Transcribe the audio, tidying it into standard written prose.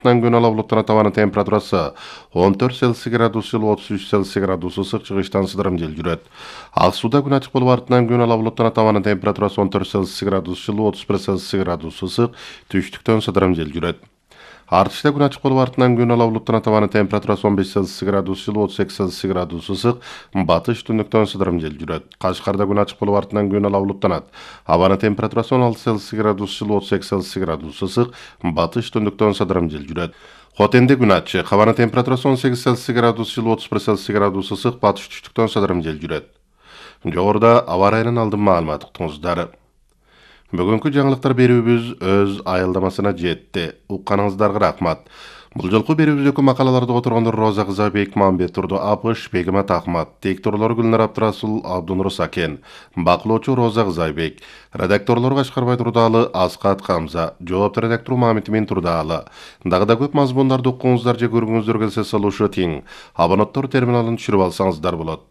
Күн ала булуттан табаны температурасы 14 Цельсий градус жылы 33 Цельсий градус ысык чыгыштан сыдырым жел жүрөт. Ак сууда күн ачык болуп артынан күн ала булуттан табаны температурасы 14 Цельсий градус жылы 31 Цельсий градус ысык түштүктөн сыдырым жел жүрөт. Артышта күн ачык болуп артынан күн ала булуттан табаны температурасы 15 Цельсий градус жылы 32 Цельсий градус ысык батыш түндүктөн сыдырым жел жүрөт. Кашкарда күн ачык болуп артынан күн ала булуттанат. Абаны температурасы 16 Цельсий градус жылы 32 Цельсий градус ысык батыш түндүктөн сыдырым жел жүрөт. Хотенде күн ачык, абаны температурасы 18 Цельсий градус жылы 31 Цельсий градус ысык батыш түштүктөн сыдырым жел жүрөт. Жогоруда аба ырайынын алдын маалымат уктуңуздар. Бүгүнкү жаңылыктар берүүбүз өз айылдамасына жетти. Укканыңыздарга рахмат. Бул жолку берүүбүздөгү макалаларды которгондор Роза кызы Бекмамбет турду Апыш, Бегимат Ахмат, текторлор Гүлнар Абдрасул, Абдунур Сакен, бакылоочу Роза Кызайбек, редакторлор Кашкарбай Турдаалы, Аскат Камза, жоопту редактор Мамит Эмин Турдаалы. Дагы да көп мазмундарды уккуңуздар же көргүңүздөр келсе салышы тең. Абонаттар терминалын түшүрүп алсаңыздар болот.